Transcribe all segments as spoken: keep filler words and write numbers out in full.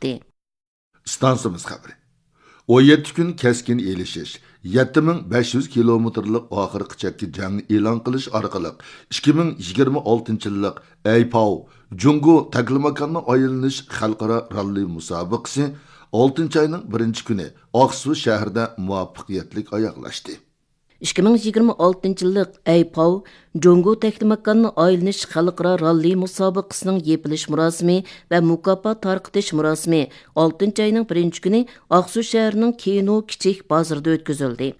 ئېيتتى. ئىستانسىمىز خەۋىرى. ئون يەتتە كۈن كەسكىن ئېلىشىش، يەتتە مىڭ بەش يۈز كىلومېتىرلىق ئاخىرقى چەككە جەڭ ئېلان قىلىش ئارقىلىق، ئىككى مىڭ يىگىرمە ئالتىنچى يىللىق ئەيپاۋ جۇڭگو تەكلىماكاننى ئايلىنىش خەلقئارا راللى مۇسابىقىسى ئالتىنچى ئاينىڭ بىرىنچى كۈنى ئاقسۇ شەھىرىدە مۇۋەپپەقىيەتلىك ئاياغلاشتى. ئىككى مىڭ يىگىرمە ئالتىنچى يىللىق ئەيپاۋ جۇڭگو تەكلىماكاننى ئايلىنىش خەلقئارا راللى مۇسابىقىسىنىڭ يېپىلىش مۇراسىمى ۋە مۇكاپات تارقىتىش مۇراسىمى ئالتىنچى ئاينىڭ بىرىنچى كۈنى ئاقسۇ شەھىرىنىڭ كىنو كىچىك بازىرىدا ئۆتكۈزۈلدى.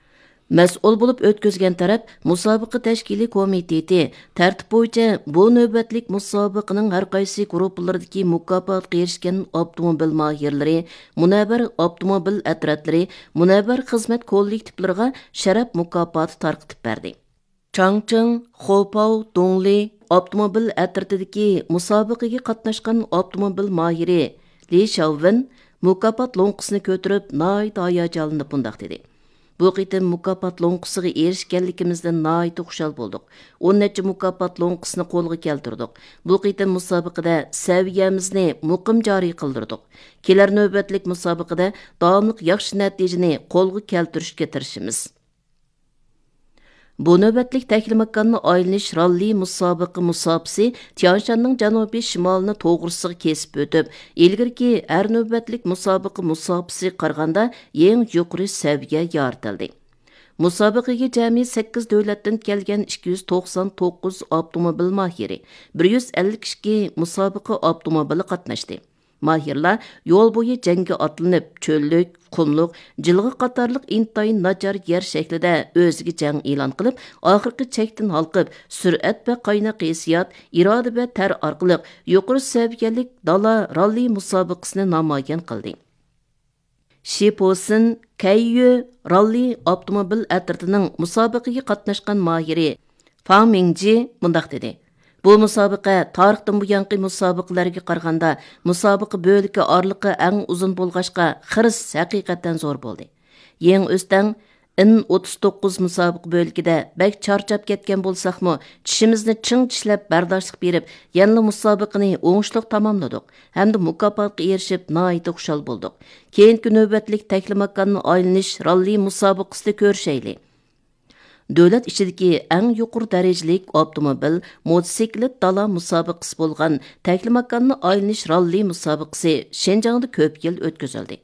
مەسئۇل بولۇپ ئۆتكۈزگەن تەرەپ مۇسابىقە تەشكىلىي كومىتېتى تەرتىپ بويىچە بۇ نۆۋەتلىك مۇسابىقىنىڭ ھەر قايسى گۇرۇپپىلىرىدىكى مۇكاپاتقا ئېرىشكەن ئاپتوموبىل ماھىرلىرى، مۇنەۋۋەر ئاپتوموبىل ئەترەتلىرى، مۇنەۋۋەر خىزمەت كوللېكتىپلىرىغا شەرەپ مۇكاپاتى تارقىتىپ بەردى. چاڭچىڭ، خوپاۋ، دۇڭلى ئاپتوموبىل ئەترىتىدىكى مۇسابىقىگە قاتناشقان ئاپتوموبىل ماھىرى لى شياۋۋېن مۇكاپات لوڭقىسىنى كۆتۈرۈپ، ناھايىتى ھاياجانلىنىپ مۇنداق دېدى: بۇ قېتىم مۇكاپات لوڭقىسىغا ئېرىشكەنلىكىمىزدىن ناھايىتى خۇشال بولدۇق. ئون نەچچە مۇكاپات لوڭقىسىنى قولغا كەلتۈردۇق. بۇ قېتىم مۇسابىقىدە سەۋىيەمىزنى مۇقىم جارى قىلدۇردۇق. كېلەر نۆۋەتلىك مۇسابىقىدە داۋاملىق ياخشى نەتىجىنى قولغا كەلتۈرۈشكە تىرىشىمىز. بۇ نۆۋەتلىك تەكلىماكاننى ئايلىنىش راللى مۇسابىقە مۇساپىسى تيانشاننىڭ جەنۇبىي شىمالىنى توغرىسىغا كېسىپ ئۆتۈپ، ئىلگىرىكى ھەر نۆۋەتلىك مۇسابىقە مۇساپىسىگە قارىغاندا يېڭى يۇقىرى سەۋىيە يارىتىلدى. مۇسابىقىگە جەمئىي سەككىز دۆلەتتىن كەلگەن ئىككى يۈز توقسان توققۇز ئاپتوموبىل ماھىرى، بىر يۈز ئەللىك ئىككى مۇسابىقە ئاپتوموبىلى قاتناشتى. ماھىرلار يول بويى جەڭگە ئاتلىنىپ، چۆللۈك، قۇملۇق، جىلغا قاتارلىق ئىنتايىن ناچار يەر شەكلىدە ئۆزىگە جەڭ ئېلان قىلىپ، ئاخىرقى چەكتىن ھالقىپ، سۈرئەت ۋە قايناق ھېسسىيات، ئىرادە ۋە تەر ئارقىلىق يۇقىرى سەۋىيەلىك دالا راللى مۇسابىقىسىنى نامايان قىلدى. شى پوسىن كەييۈ راللى ئاپتوموبىل ئەترىتىنىڭ مۇسابىقىگە قاتناشقان ماھىرى فاڭ مىڭجى مۇنداق دېدى: بۇ مۇسابىقە تارىختىن بۇيانقى مۇسابىقىلەرگە قارىغاندا مۇسابىقە بۆلىكى ئارىلىقى ئەڭ ئۇزۇن بولغاچقا، خىرىس ھەقىقەتەن زور بولدى. يېڭى ئۆستەڭ ئېن ئوتتۇز توققۇز مۇسابىقە بۆلىكىدە بەك چارچاپ كەتكەن بولساقمۇ، چىشىمىزنى چىڭ چىشلەپ بەرداشلىق بېرىپ، يەنىلا مۇسابىقىنى ئوڭۇشلۇق تاماملىدۇق ھەمدە مۇكاپاتقا ئېرىشىپ ناھايىتى خۇشال بولدۇق. كېيىنكى نۆۋەتلىك تەكلىماكاننى ئايلىنىش راللى مۇسابىقىسىدە كۆرۈشەيلى. دۆلەت ئىچىدىكى ئەڭ يۇقىرى دەرىجىلىك ئاپتوموبىل، موتوسىكلىت دالا مۇسابىقىسى بولغان تەكلىماكاننى ئايلىنىش راللى مۇسابىقىسى شىنجاڭدا كۆپ يىل ئۆتكۈزۈلدى.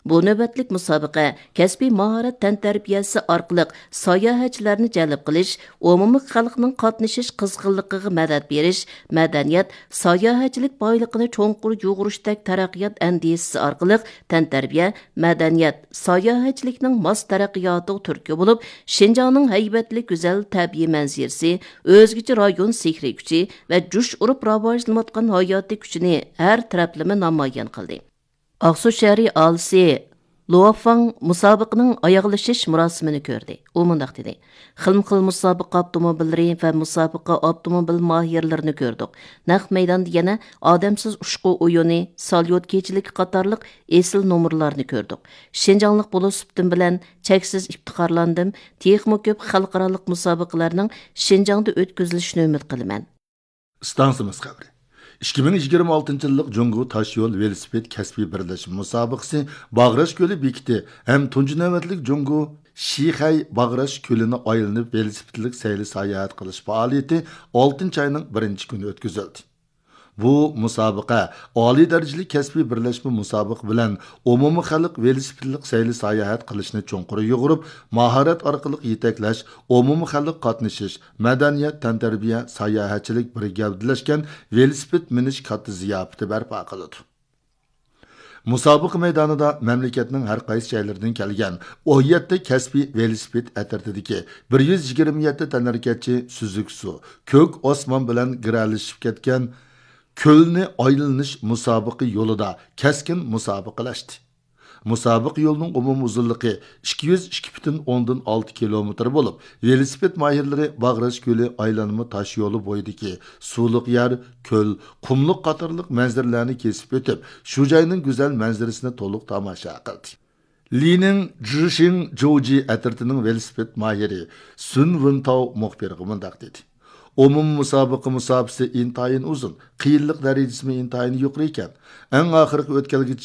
بۇ نۆۋەتلىك مۇسابىقە كەسپىي ماھارەت تەنتەربىيەسى ئارقىلىق ساياھەتچىلەرنى جەلپ قىلىش، ئومۇمىي خەلقنىڭ قاتنىشىش قىزغىنلىقىغا مەدەت بېرىش، مەدەنىيەت، ساياھەتچىلىك بايلىقىنى چوڭقۇر يۇغۇرۇشتەك تەرەققىيات ئەندىزىسى ئارقىلىق تەنتەربىيە، مەدەنىيەت، ساياھەتچىلىكنىڭ ماس تەرەققىياتىغا تۈرتكە بولۇپ، شىنجاڭنىڭ ھەيۋەتلىك گۈزەل تەبىئىي مەنزىرىسى، ئۆزگىچە رايون سېھرىي كۈچى ۋە جۇش ئۇرۇپ راۋاجلىنىۋاتقان ھاياتىي كۈچىنى ھەر تەرەپلىمە نامايان قىلدى. ئاقسۇ شەھىرى ئاھالىسى لۇۋاڭ مۇسابىقىنىڭ ئاياغلىشىش مۇراسىمىنى كۆردى. ئۇ مۇنداق دېدى: خىلمۇ خىل مۇسابىقە ئاپتوموبىللىرى ۋە مۇسابىقە ئاپتوموبىل ماھىرلىرىنى كۆردۇق. نەق مەيداندا يەنە ئادەمسىز ئۇچقۇ ئويۇنى، ساليوت كېچىلىكى قاتارلىق ئېسىل نومۇرلارنى كۆردۇق. شىنجاڭلىق بولۇش سۈپىتىم بىلەن چەكسىز ئىپتىخارلاندىم. تېخىمۇ كۆپ خەلقئارالىق مۇسابىقىلەرنىڭ شىنجاڭدا ئۆتكۈزۈلۈشىنى ئۈمىد قىلىمەن. ئىستانسىمىز خەۋىرى. ئىككى مىڭ يىگىرمە ئالتىنچى يىللىق جۇڭگو تاشيول ۋېلىسىپىت كەسپىي بىرلەشمە مۇسابىقىسى باغراش كۆلى بېكىتى ھەم تۇنجى نۆۋەتلىك جۇڭگو شىخەي باغراش كۆلىنى ئايلىنىپ ۋېلىسىپىتلىك سەيلە ساياھەت قىلىش پائالىيىتى ئالتىنچى ئاينىڭ بىرىنچى كۈنى ئۆتكۈزۈلدى. بۇ مۇسابىقە ئالىي دەرىجىلىك كەسپىي بىرلەشمە مۇسابىقە بىلەن ئومۇمىي خەلق ۋېلىسىپىتلىق سەيلە ساياھەت قىلىشنى چوڭقۇر يۇغۇرۇپ، ماھارەت ئارقىلىق يېتەكلەش، ئومۇمىي خەلق قاتنىشىش، مەدەنىيەت، تەنتەربىيە، ساياھەتچىلىك بىر گەۋدىلەشكەن ۋېلىسىپىت مىنىش كاتتا زىياپىتى بەرپا قىلىدۇ. مۇسابىقە مەيدانىدا مەملىكەتنىڭ ھەر قايسى جايلىرىدىن كەلگەن ئون يەتتە كەسپىي ۋېلىسىپىت ئەترىتىدىكى بىر يۈز يىگىرمە يەتتە تەنھەرىكەتچى سۈزۈك سۇ، كۆك ئاسمان بىلەن گىرەلىشىپ كەتكەن كۆلنى ئايلىنىش مۇسابىقە يولىدا كەسكىن مۇسابىقىلەشتى. مۇسابىقە يولىنىڭ ئومۇمىي ئۇزۇنلۇقى ئىككى يۈز ئىككى پۈتۈن ئوندىن ئالتە كىلومېتىر بولۇپ، ۋېلىسىپىت ماھىرلىرى باغراش كۆلى ئايلانما تاش يولى بويىدىكى سۇلۇق يەر، كۆل، قۇملۇق قاتارلىق مەنزىرىلەرنى كېسىپ ئۆتۈپ، شۇ جاينىڭ گۈزەل مەنزىرىسىنى تولۇق تاماشا قىلدى. لىنىڭ جىشىڭ جوجى ئەترىتىنىڭ ۋېلىسىپىت ماھىرى سۈن ۋېنتاۋ مۇخبىرغا مۇنداق دېدى: ئومۇمىي مۇسابىقە مۇساپىسى ئىنتايىن ئۇزۇن، قىيىنلىق دەرىجىسىمۇ ئىنتايىن يۇقىرى ئىكەن. ئەڭ ئاخىرقى ئۆتكەلگىچە